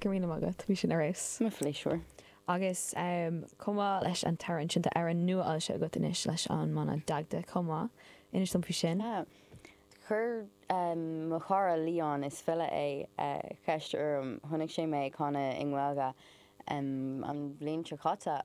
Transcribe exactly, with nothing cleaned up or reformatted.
Go raibh míle maith agat, bhí sin ar fheabhas. Mo phléisiúr. Agus um, chomh maith leis an t-amhrán sin tá amhrán nua foilsithe agat anois leis an mbanna Dagda chomh maith. Inis dom faoi sin. Ah. Chuir um, mo chara Leon is file é uh, ceist orm chonaic sé mé ag canadh i nGaeilge um, an bhliain seo caite.